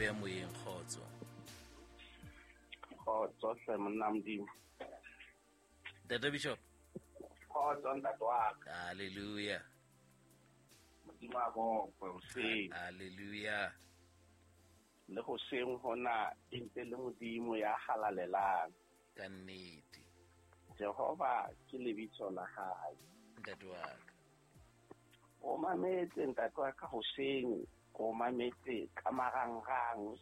beya moyeng. Kgotso. Kgotso hle monna Modimo. Ntate Bishop. Kgotso ntate wa ka. Hallelujah. Modimo a bokwe hoseng. Hallelujah. Le hoseng hona e ntse le Modimo ya halalelang. Ka nnete. Jehova ke lebitso la hae. Ntate wa ka. O mametse ntate wa ka hoseng, o mametse ka marangrang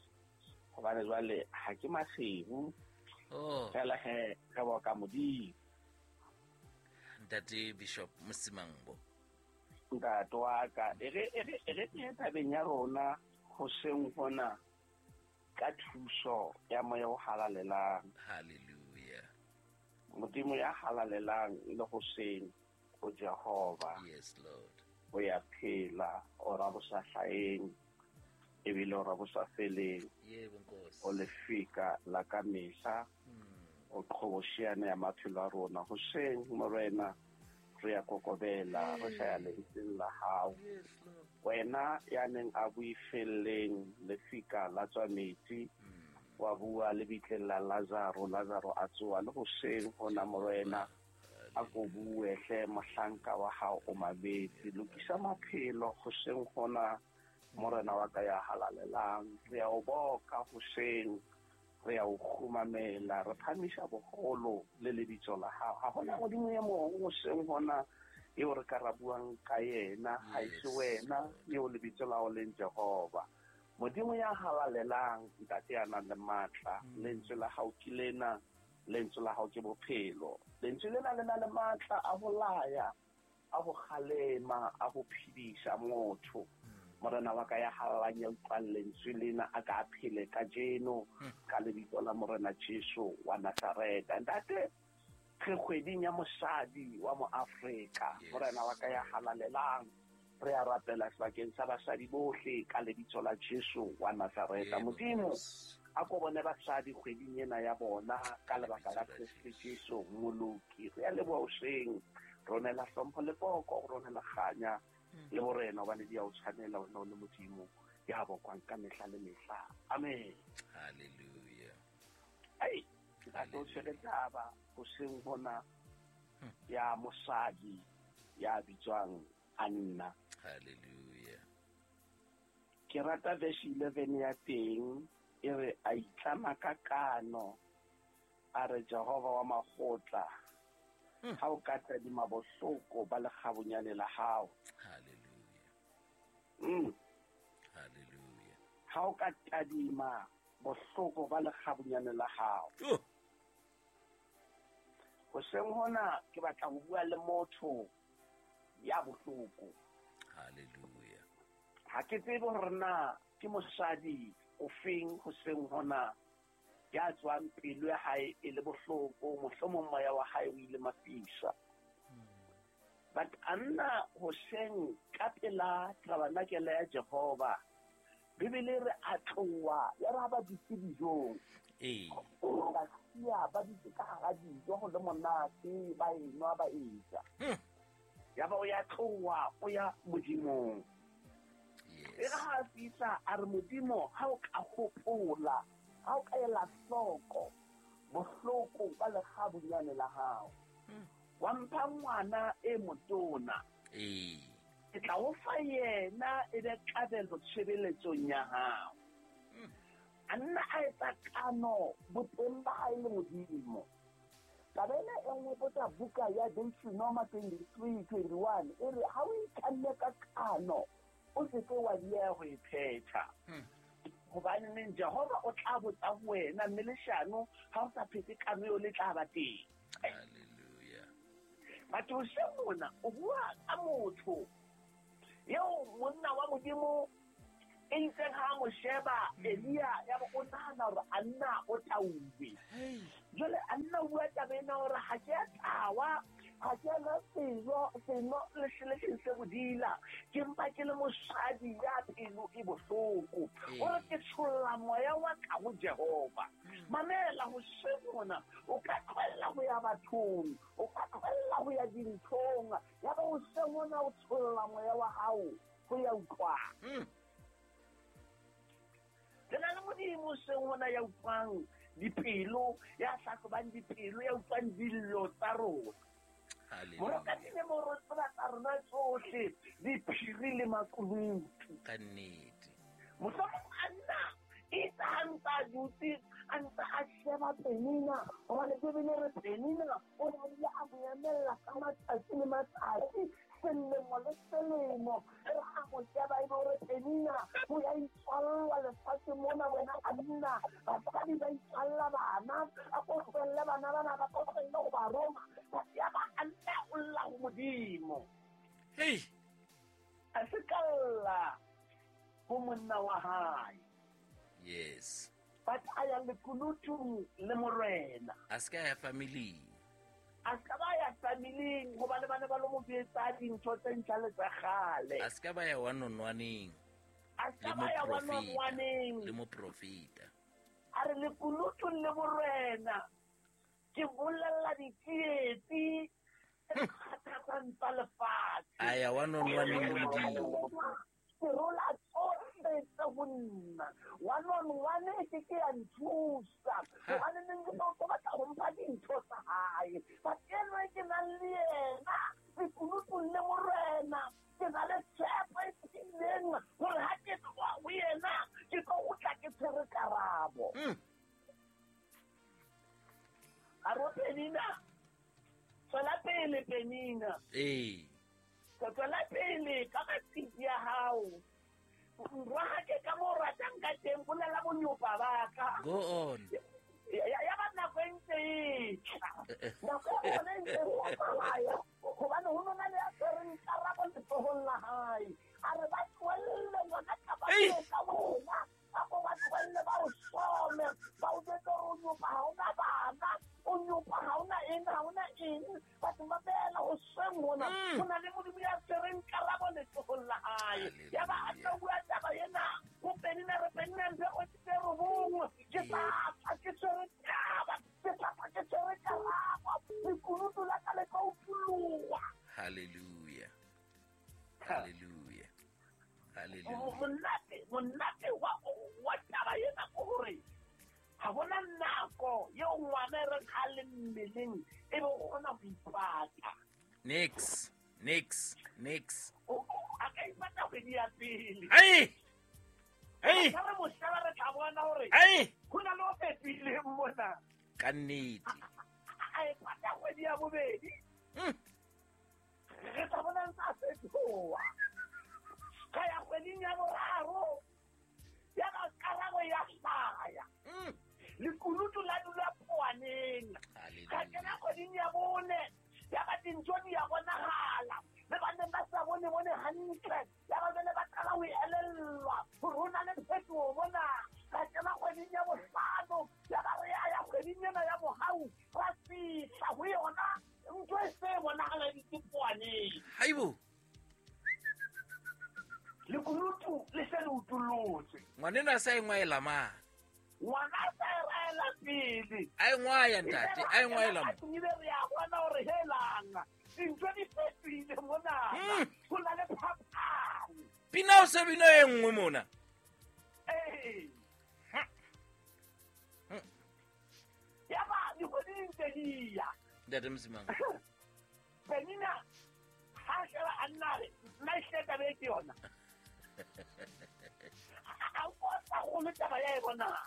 hobane jwale ha ke Maseru. Oh. Fela he re boka Modimo. Ntate Bishop Mosimangbo. Ntate wa ka, e re ke tabeng ya rona hoseng hona ka thuso ya moya o halalelang. Hallelujah. Modimo ya halalelang le hoseng o Jehova. Yes, Lord. O ya phela, o ra bosa hlaeng, ebile o ra bosa feleng. Yebo Nkosi. O lefika la ka mehla, o qhobosheane ya maphelo a rona. Hoseng Morena re ya kokobela, re hlaya lentsweng la hao. Yes, Lord. Wena ya neng a buifelleng lefika la tswa metsi, wa bua lebitleng la Lazaro, Lazaro a tsoa. Le hoseng hona Morena a ko bue hle mohlanka wa hao o mametse. Lokisa maphelo hoseng hona Morena wa ka ya halalelang. Re ya o boka hoseng, re ya o kgumamela, re phamisa boholo le lebitso la hao. Ha hona Modimo e mong hoseng hona eo re ka ra buang ka yena, ha e se wena eo lebitso la hao leng Jehova. Modimo ya halalelang, Ntate ya nang le matla, lentswe la hao ke lena, lentswe la hao ke bophelo. Lentswe lena le na le matla a ho laya, a ho kgalema, a ho phedisa motho. Morena wa ka ya halalelang ya utlwang lentswe lena a ka phele kajeno ka lebitso la Morena Jesu wa Nazareta. Ntate, re kgweding ya mosadi wa Moafrika. Morena wa ka ya halalelang, re a rapela sebakeng sa basadi bohle ka lebitso la Jesu wa Nazareta. Modimo a ko bone basadi kgweding ena ya bona ka lebaka la Kreste Jesu Moloki. Re a leboha hoseng, ronela hlompho le poko, ronela kganya le borena, hobane di a o tshwanela wena o le Modimo ya bokwang ka mehla le mehla. Amen. Hallelujah. Ai, ntate o tshwere taba hoseng hona ya mosadi ya bitswang Anna. Hallelujah. Ke rata verse 11 ya teng e re a itlama ka kano, a re Jehova wa makgotla, ha o ka tadima bohloko ba lekgabunyane la hao. Hallelujah. Hallelujah. Ha o ka tadima bohloko ba lekgabunyane la hao. Hoseng hona ke batla ho bua le motho ya bohloko. Hallelujah. Ha ke tsebe hore na ke mosadi ofeng hoseng hona ya tswang pelo ya hae e le bohloko, mohlomong moya wa hae o ile mafisa. But Anna hoseng ka pela tabernacle ya Jehova, Bibele re a tloha ya re ha ba dutse dijong. Ba siya ba dutse ka hara dijo ho le monate, ba enwa ba eja. Ya ba o ya tloha o ya Modimong. E re ha a fihla a re Modimo ha o ka hopola, ha o ka ela hloko bohloko ba lekgabunyane la hao, wa mpha ngwana e motona. Ke tla o fa yena e be kabelo tshebeletsong ya hao. A nna a etsa kano boteng ba hae le Modimo. Taba ena e nngwe botsa buka ya Deuteronoma 23:21 e re ha o itlamme ka kano o se ke wa dieha ho e phetha. Hobane neng Jehova o tla botsa ho wena, mme leshano ha o sa phete kano eo le tla ba teng. Hallelujah. Batho hoseng mona o bua ka motho eo monna wa Modimo e itseng ha mo sheba Elia ya bo o nahana hore Anna o tauwe. Jwale Anna o bua taba ena hore ha ke a tawa, ha ke a nwa seno le se bodila, ke mpa ke le mosadi ya pelo e bohloko. O re ke tsholla moya wa ka ho Jehova. Mamela hoseng mona, o ka tlohella ho ya bathong, o ka tlohella ho ya dinthong, ya ba hoseng mona o tsholla moya wa hao ho ya utlwang. Ke na Modimo seng ona ya utlwang dipelo, ya hlahlobang dipelo, ya utlwang dillo tsa rona. Morokatile mo re tseba tsa rona tsohle, diphiri le makunutu. Ka nnete. Mohlomong a nna itse ha ntse a dutse, a ntse a sheba Penina, hobane Bibele re Penina o ne a ile a mo emella ka matsatsi le matsatsi, selemo le selemo, re a mo sheba ebe o re Penina o ya itswalla lefatshe mona, wena a nna, basadi ba itswalla bana, a ko tlohelle bana bana, ba ko tlohelle ho ba roma, ya ba a nna o lla ho Modimo. Hey! A se ka lla ho monna wa hae. Yes. But a ya lekunutung le morena. A se ka ya familing. A se ka ba ya familing hobane ba ne ba lo mo betsa dintho tse ntjha le tsa kgale. A se ka ba ya one on one-eng. A se ka ba ya one on one-eng. Le moprofeta. A re lekunutung le morena. Ke bolella ditsietsi tse kgathatsang tsa lefatshe. A ya one on one-eng le Modimo. Ke rola tsohle tse ho nna. One on one e ke ke ya nthusa. Hobane neng ke tlo batla ho mpha dintho tsa hae. But enwa ke nang le yena, lekunutung le morena, ke na le tshepo e tiileng hore ha ke tloha ho yena, ke tlo kgutla ke tshwere karabo. A re Penina, tswela pele Penina. Ee. Tswela pele ka matsitsi a hao. Nrwahake ka mo ratang ka teng, bolela bonyopa ba ka. Go on. Ya ba nako e ntse e tla. Nako ya bona e ntse e tsamaya. Hobane ho nona le ya tshwereng karabo letsohong la hae. A re ba tlohelle ngwana ka ba ka wena. A ko ba tlohelle ba o some. Ba o jwetse hore o nyopa ha ona bana. O nyopa ha ona eng, ha ona eng. Batho ba beela ho sweng hona. Ho na le Modimo ya tshwereng karabo letsohong la hae. Ya ba a tla bua taba ena. Ho Penina re Penina mphe o tse robong. Ke tla ke tshwere taba. Ke tla ke tshwere karabo. Lekunutu la ka le tla utlwa. Hallelujah. Hallelujah. Hallelujah. Monate wa taba ena ke hore ha bona nako eo ngwana e reng ha le mmeleng e be o kgona ho ipata. Nix. A ka ipata kgwedi ya pele. Ai! Ai! Re mo sheba re tla bona hore ai! Ho na le o fetohileng mona. Ka nnete. A ipata kgwedi ya bobedi. Re tla bona ntse a fetoha. Ka ya kgweding ya boraro. Ya ba karabo ya hlaya. Lekunutu la dula poaneng. Ka kena kgweding ya bone. Ya ba dintho di ya bonahala. Le ba neng ba sa bone hantle. Ya ba jwale ba qala ho elellwa hore ho na le phetoho mona. Ka kena kgweding ya bohlano. Ya ba re ya kgweding ena ya bohau. Ra fihla ho yona ntho e se bonahala di poaneng. Haibo. Lekunutu le se le utullotse. Ngwaneno a sa e ngwaela ma. Ngwana a sa e raela pele. A e ngwaya ntate, a e ngwaela mo. Ebile re a bona hore helang. Dintho di fetohile mona. Ho na le phapang. Pina o se bina e nngwe mona. Ee. Ya ba dikgwedi di ntse di ya. Ntate Msimang. Penina ha sheba a nna re nna ehlile taba e ke yona. A o sa kgolo taba ya e bonang.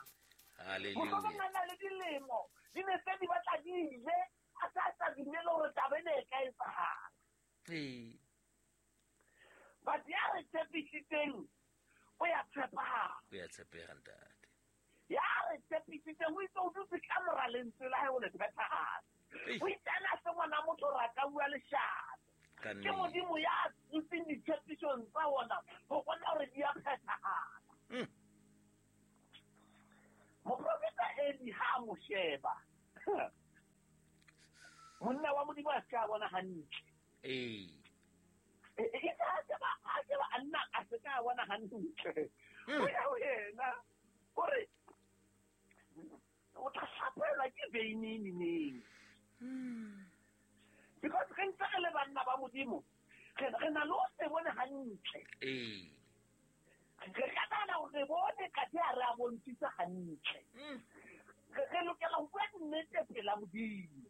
Hallelujah. Mohlomong a na le dilemo di ne tse di batla di ile a sa dumele hore taba ena e ka etsahala. Ee. But ya re tshepisitseng o ya tshepahala. O ya tshepeha ntate. Ya re tshepisitseng o itse o dutse ka mora lentswe la hae o le phethahatse. O itse ana se ngwana motho hore a ka bua leshano. Ke Modimo ya dutseng ditshepisong tsa ona ho bona hore di a phethahala. Moprofeta Eli ha a mo sheba. Monna wa Modimo a se ka bona hantle. Ee. A sheba a nna a se ka bona hantle. O ya ho yena hore o tla hlapelwa ke veine neneng. Because re ntse re le banna ba Modimo, re na le ho se bone hantle. Ee. Re ka nahana hore re bone kathe ha re a bontshitse hantle. Re lokela ho bua nnete pela Modimo.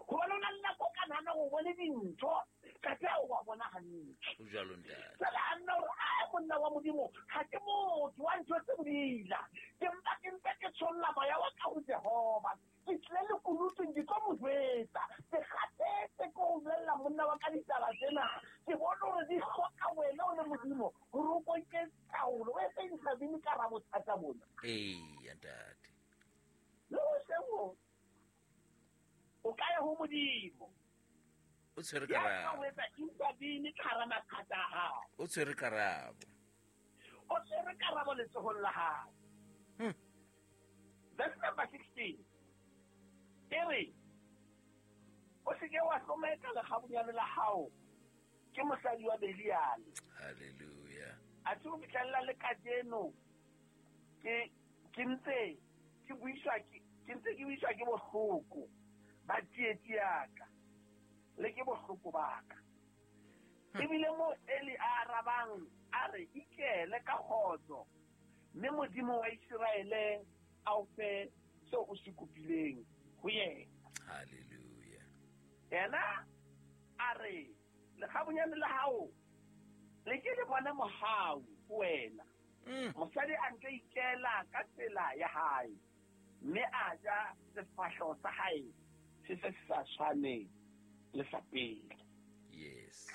Hobane o na le nako ka nahana hore o bone dintho, ka tla o wa bona hantle. Ho jwalo ntate. Jwale a nna hore, "Ai, monna wa Modimo, ha ke motho wa ntho tse bodila. Ke mpa ke ntse ke tsholla moya wa ka ho Jehova. Ke tlile lekunutung, ke tlo mo jwetsa. Ke kgathetse ke ho bolella monna wa ka ditaba tsena. Ke bone hore di hloka wena o le Modimo hore o ko nke taolo, o etse intervene ka hara bothata bona." Eya ntate. Le hoseng ho, o ka ya ho Modimo. O tshwere Ya ka karabo. ho etsa intervene ka hara mathata a hao. O tshwere karabo. O tshwere karabo letsohong la hao. Verse number 16. E re, o se ke wa hlomeka lekgabunyane la hao ke mosadi wa Beliale. Hallelujah. Athe ho fihlella le kajeno ke ntse ke buiswa ke ntse ke buiswa ke bohloko ba tsietsi ya ka le ke bohloko ba ka. Ebile mo Eli a arabang a re, ikele ka kgotso, mme Modimo wa Iseraele a o fe seo o se kopileng ho yena. Hallelujah. Yena a re, lekgabunyane la hao le ke le bone mohau ho wena. Mosadi a ntse ikela ka tsela ya hae, mme a ja sefahleho sa hae se se sa tshwane le sa pele. Yes.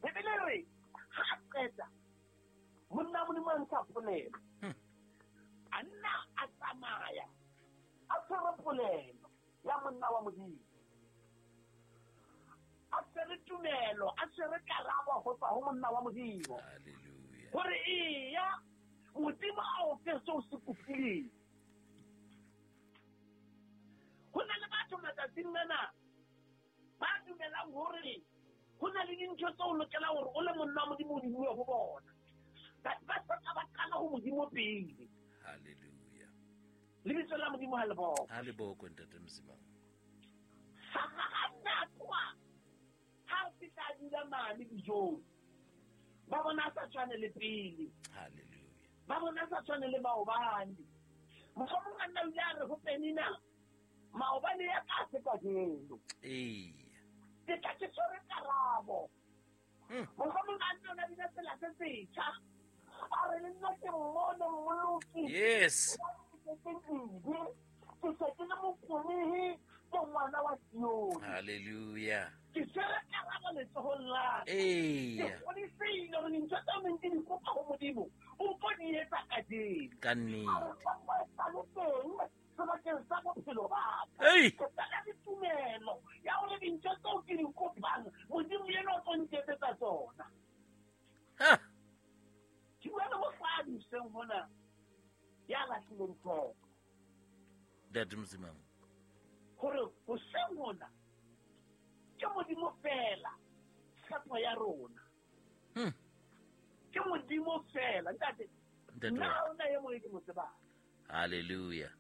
Bibele re, ha a qeta, monna Modimo a ntsha polelo. A nna a tsamaya, a tshwere polelo ya monna wa Modimo. A tshwere tumelo, a tshwere karabo ho tswa ho monna wa Modimo. Hallelujah. Hore eya, Modimo a o fe seo o se kopileng. Ho na le batho matsatsing ana ba dumelang hore ho na le dintho tseo o lokelang hore o le monna wa Modimo o di bue ho bona. Ba soka ba qala ho Modimo pele. Hallelujah. Lebitso la Modimo ha le bokwe. Ha le bokwe ntate Msimang. Ha nna tloha, ha o fihla a dula mane dijong, ba bona a sa tshwane le pele. Hallelujah. Ba bona a sa tshwane le maobane. Mohlomong a nna o ile a re ho Penina, maobane ya ka se kajeno. Eya. Ke tla ke tshwere karabo. Mohlomong a nna o na bina tsela se setjha. A re le nna ke mmone mmoloki. Yes. Ke se ke le mokonehi, ke ngwana wa Sione. Hallelujah. Ke tshwere karabo letsohong la ka. Eya. Ke kgodisehile hore dintho tseo neng ke di kopa ho Modimo, o tlo di etsa kajeno. Ka nnete. A re tshepo e sa le teng sebakeng sa bophelo ba ka. Ei! Ke tsena le tumelo ya hore dintho tseo ke di kopang, Modimo yena o tlo nketsetsa tsona. Ha! Ke bua le mosadi hoseng hona ya lahlileng tshepo. Ntate Msimang. Hore hoseng hona ke Modimo fela tshepo ya rona. Ke Modimo fela, ntate. Ntate Nna wa ha hona e mong e ke mo tsebang. Hallelujah.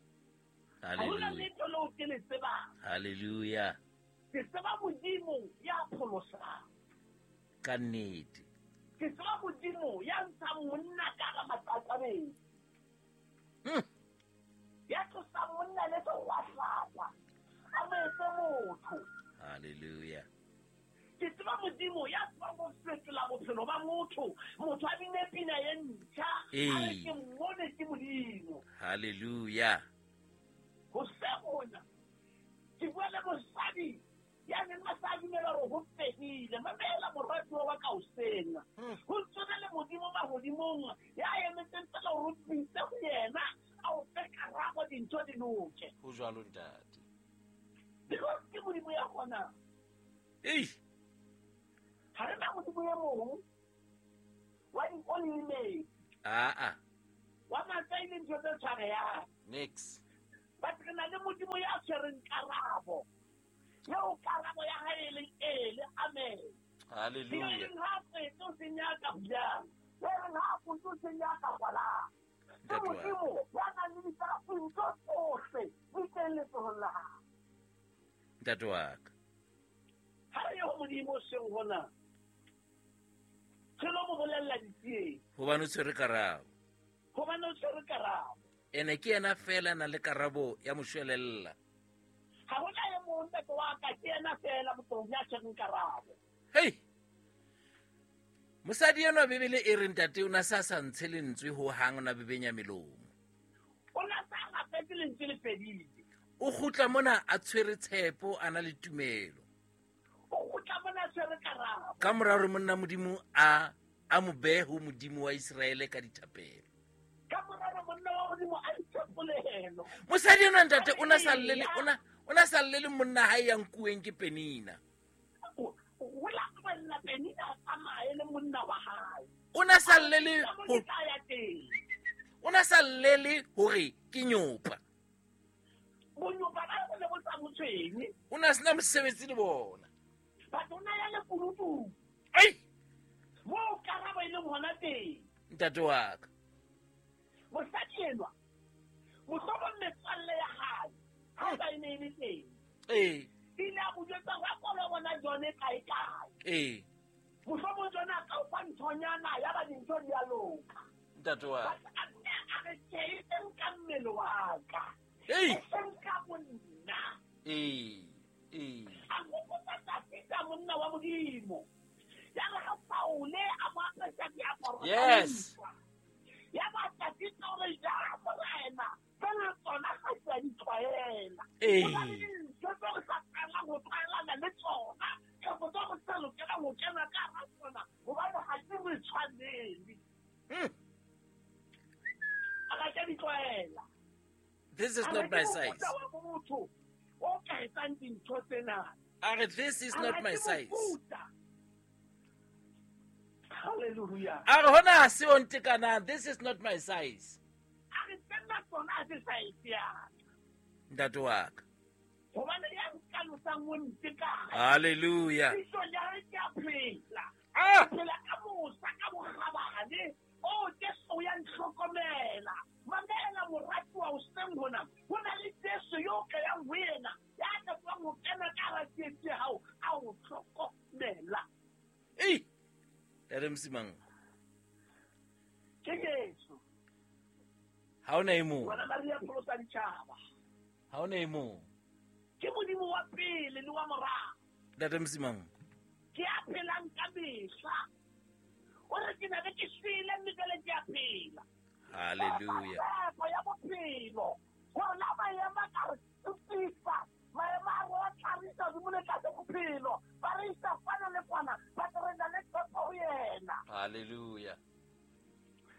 Ha hona Hallelujah. letho leo ke le tsebang. Hallelujah. Ke tseba Modimo ya pholosang. Ka nnete. Ke tseba Modimo ya ntshang monna ka hara matlakabeng. Ya tlosang monna le sehwahlakwa, a mo etse motho. Hallelujah. Ke tseba Modimo ya tsebang ho fetola bophelo ba motho, motho a bine pina e ntjha, a re ke mmone ke Modimo. Hallelujah. Ho se hona, ke bua le mosadi ya neng a sa dumela hore ho fedile. Mamela moratuwa wa ka hoseng. Ho tsona le Modimo mahodimong ya emetseng fela hore o bitse ho yena, a o fe karabo dintho di loke. Ho jwalo ntate. Because ke Modimo ya kgonang. Ei! Ha re na Modimo e mong wa di-only Aa. wa matsai le ntho tse tshwarehang. Next. But re na le Modimo ya tshwereng karabo. Eo karabo ya hae e leng ee le amen. Hallelujah. Ya reng ha qete o senya ka bulang. Ya reng ha qete o senya ka kwalang. Ke Ntate wa Modimo ya nang le dintho tsohle di teng letsohong la hae. Ntate wa ka. Ha re ye ho Modimo hoseng hona, re lo mo bolella ditsietsi. Hobane o tshwere karabo. Ene ke yena fela na le karabo ya moshwelella. Ha hona e mong ntate wa ka, ke yena fela motho ya tshwereng karabo. Hey! Mosadi enwa Bibele e re ntate o na sa sa ntshe lentswe ho hang, o na bebenya melomo. O na sa rapetse lentswe le fedile. O kgutla mona a tshwere tshepo, a na le tumelo. O kgutla mona a tshwere karabo. Ka mora hore monna Modimo a mo behe ho Modimo wa Iseraele ka dithapelo. Ka mora hore monna wa Modimo a ithapolelo. Mosadi enwa ntate o na sa llele, o na sa llele monna hae ya nkuweng ke Penina. O la tlohella Penina a tsamaye le monna wa hae. O na sa llele Ka mo ho ke tla ya teng. O na sa llele hore ke nyopa. Bonyopa ba bo ne bo sa mo tshwenye. O na sena mosebetsi le bona. Batho o na ya lekunutung. Ai! Moo karabo e leng hona teng. Ntate wa ka. Mosadi enwa, mohlomong metswalle ya hae, ha ba e ne e le teng. Ee. Ile a mo jwetsa hore a kgone ho bona John kae kae. Ee. Mohlomong John a ka o fa nthonyana ya ba dintho di a loka. Ntate wa ka. But a nne a re tjhe, e seng ka mmele wa ka. Ei! E seng ka bonna. Ee, ee. A hopotsa Dafida monna wa Modimo. Ya re ha Saule a mo apesa diaparo tsa Yes. ntwa. Ya ba Dafida o re, ja morena, tsena tsona ga ke a di tlwaela. Ee. Ho na le dintho tseo re sa tlamelang ho tlwaelana le tsona, kapa tseo re sa lokelang ho kena ka hara tsona, hobane ha di re tshwanele. A ka ke di tlwaela. This is A not re my ke size. mofuta wa motho o ka etsang dintho tsena. A re, this is A not re my ke size. mofuta. Hallelujah. A re hona ha se o ntekanang, this is not my size. A re tsena tsona ha se size ya ka. Ntate wa ka. Hobane ya nkalosang o ntekana. Hallelujah. Pitso ya hae ke a phela. Ah! Phela ka mosa, ka bokgabane. Oh, Jesu o ya ntlhokomela. Mamela moratuwa hoseng hona. Ho na le Jesu yo ka yang ho yena, ya ka tswang ho kena ka hara tsietsi ya hao, a o hlokomela. Ei! Ntate Msimang. Ke Jesu. Ha hona e mong. Ngwana Maria pholosa ditjhaba. Ha hona e mong. Ke Modimo wa pele le wa morao. Ntate Msimang. Ke a phelang ka mehla. O re ke na be ke shwele mme jwale ke a phela. Hallelujah. Tshepo ya bophelo. Hore la maemo a ka re tsitsisa, maemo a rona tlharisa hodimo le tlase bophelo. Ba re isa kwana le kwana, ba tle re na le tshepo ho yena. Hallelujah.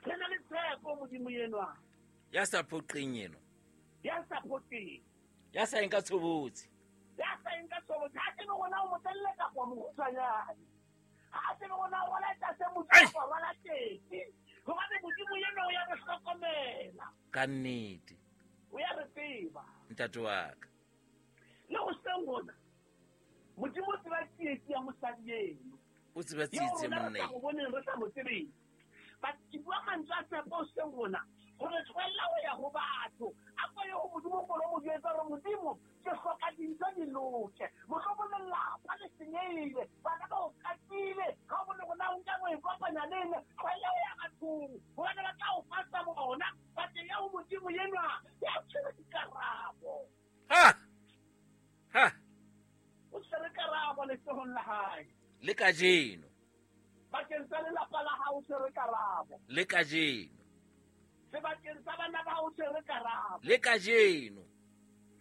Re na le tshepo Modimo enwa. Ya sa phoqeng enwa. Ya sa phoqeng. Ya sa eng ka tshobotsi. Ya sa eng ka tshobotsi. Ha tsebe hore na o motelele kapa o mokgutshwanyane. Ha tsebe hore na o rwala tlase motho Ai! kapa o rwala tekesi. Hobane Modimo enwa o ya re hlokomela. Ka nnete. O ya re tseba. Ntate wa ka. Le hoseng hona, Modimo o tseba tsietsi ya mosadi eno. O tseba Eo tsietsi ya rona re monna sa eno. mo boneng, re sa mo tsebeng. But ke bua mantswe a tshepo hoseng hona, hore tlohella ho ya ho batho. A ko ye ho Modimo, ko lo mo jwetsa hore Modimo, ke hloka dintho di loke. Mohlomong lelapa le senyehile, bana ba o qatile, ha o bone hore na o nka o e kopanya le eng, tlohella ho ya bathong, hobane ba tla o fa tsa bona. But ya ho Modimo enwa, ya tshwere dikarabo. Ha! Ha! O tshwere karabo letsohong la hae. Le kajeno. Bakeng sa lelapa la hao o tshwere karabo. Le kajeno. Sebakeng sa bana ba hao o tshwere karabo. Le kajeno.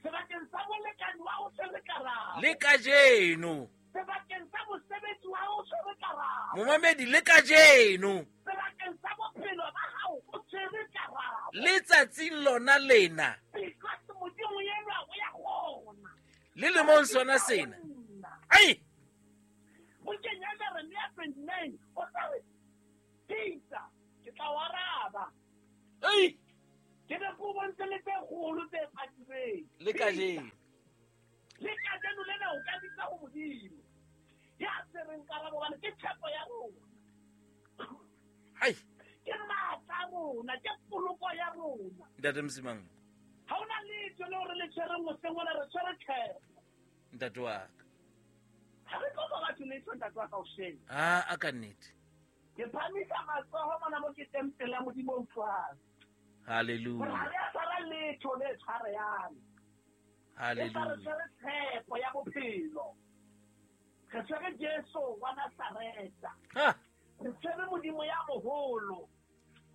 Sebakeng sa molekane wa hao o tshwere karabo. Le kajeno. Sebakeng sa mosebetsi wa hao o tshwere karabo. Momamedi, le kajeno. Sebakeng sa bophelo ba hao o tshwere karabo. Letsatsing lona lena. Because Modimo enwa o ya kgona. Le lemong sona sena. Ai! Bukeng ya Jeremia 29, o tla re, Peter, ke tla o araba. Ai! Ke be ke o bontshe le tse kgolo tse patilweng. Le kajeno. Le kajeno lena o ka bitsa ho Modimo. Ya tshwereng karabo hobane ke tshepo ya rona. Ai! Ke matla a rona, ke poloko ya rona. Ntate Msimang. Ha hona letho leo re le tshwereng hoseng hona, re tshwere tshepo. Ntate wa ka. Ha re tlo ba batho letho, ntate wa ka hoseng. Ah, a ka nnete. Ke phamisa matsoho mona mo ke teng pela Modimo o utlwang. Hallelujah. Hore ha re a tshwara hona letho le tshwareyang. Hallelujah. Re tshwere tshepo ya bophelo. Re tshwere Jesu wa Nazareta. Re tshwere Modimo ya moholo.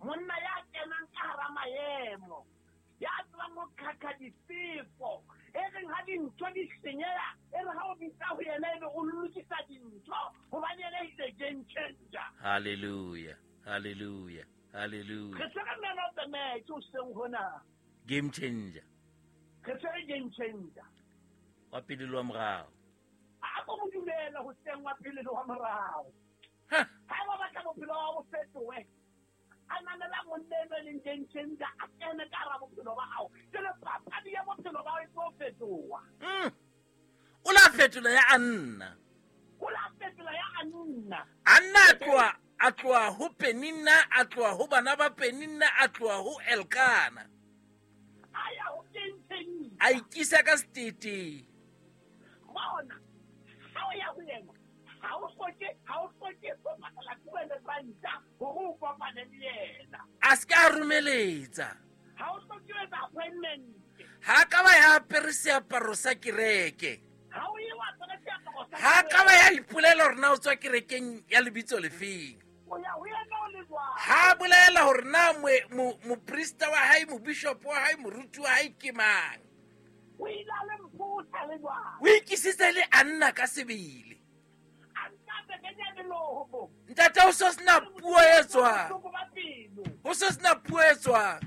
Monna ya kenang ka hara maemo. Ya tswang ho khakha difefo. E reng ha dintho di senyeha, e re ha o bitsa ho yena ebe o lokisa dintho, hobane yena is a game changer. Hallelujah. Hallelujah. Hallelujah. Re tshwere man of the match hoseng hona. Game changer. Re tshwere game changer. Wa pele le wa morao. A ko mo dumela hoseng wa pele le wa morao. Ha ba batla bophelo ba bo fetohe. A nanela monna eno e leng game changer, a kene ka hara bophelo ba hao. Jwale papadi ya bophelo ba hao e tlo fetoha. O la fetola ya Anna. O la fetola ya Anna. Anna a tloha ho Penina, a tloha ho bana ba Penina, a tloha ho Elkana. A ya ho game changer. A ikisa ka setete. Bona, ha o ya ho yena, ha o hloke ho patala R200 hore o kopane le yena. A se ka romeletsa. Ha o hloke ho etsa appointment. Ha ka ba ya apere seaparo sa kereke. Ha o ye wa apere seaparo sa Ha ka ba ya ipolela hore na o tswa kerekeng ya lebitso lefeng. O ya ho yena o le jwang. Ha bolela hore na moprista wa hae, mobishop wa hae, moruti wa hae ke mang. O ile a le mphutha le jwang. O ikisitse le Anna ka sebele. Ntate o so sena puo e tswang. O so sena puo e tswang.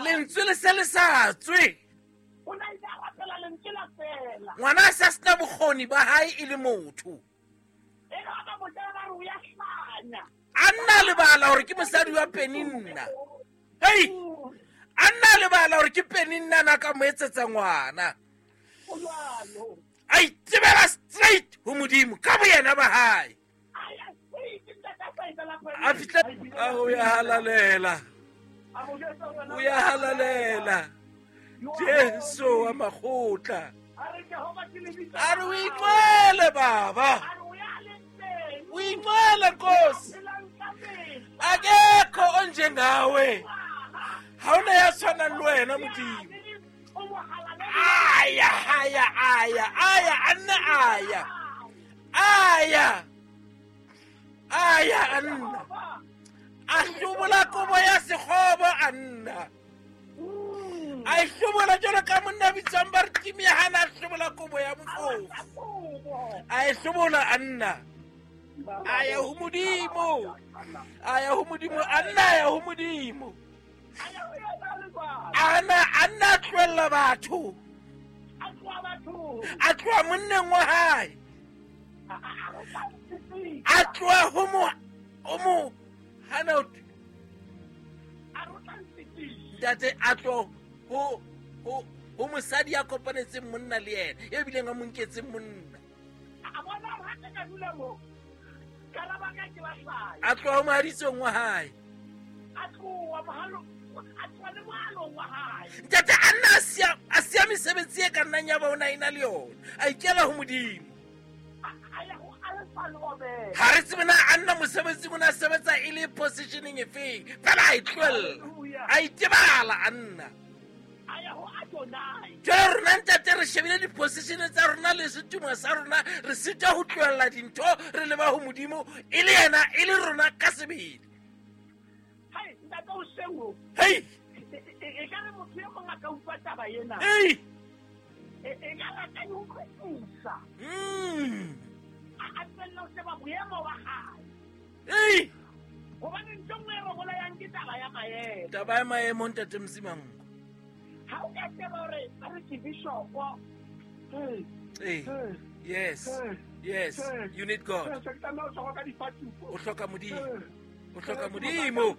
Lentswe le se le sa tswe. Ngwana a sa sena bokgoni ba hae e le motho. Anna lebala hore ke mosadi wa Penina. Hei! Anna lebala hore ke Penina na ka mo etsetsa ngwana. A itebela straight ho Modimo ka boyena ba hae. A fihla a o ya halalela. O ya halalela. Jesu wa makgotla. A re o inqwele baba. O inqwele Nkosi. Akekho onjengawe. Ha hona ya tshwanang le wena Modimo. Aya, aya, aya, aya, Anna, aya. Aya. Aya, Anna. A hlobola kobo ya sekgobo, Anna. A hlobola jwalo ka monna bitswang ba re Timia hana a hlobola kobo ya bofofu. A hlobola Anna. Aya ho Modimo. Aya ho Modimo, Anna aya ho Modimo. Anna, Anna tlohella batho. A tloha monneng wa hae. A tloha ho mo hana ntate a tloha ho mosadi ya kopanetseng monna le yena, e bileng a mo nketseng monna. A tloha ho mohaditsong wa hae. Ntate Anna a siya mesebetsi e ka nnang ya ba o na ena le yona. A ikela ho Modimo. Ha re tsebe na Anna mosebetsing o na sebetsa e le positioning efeng. Fela a e tlohella. A itebala Anna. Jwale rona ntate re shebile di-position tsa rona le setumo sa rona, re sitwa ho tlohella dintho re leba ho Modimo e le yena e le rona ka sebele. Hey! Hey! Hey! Taba ya maemo ntate Msimango. Hey. Yes. Yes. You need God. O hloka Modimo. O hloka Modimo.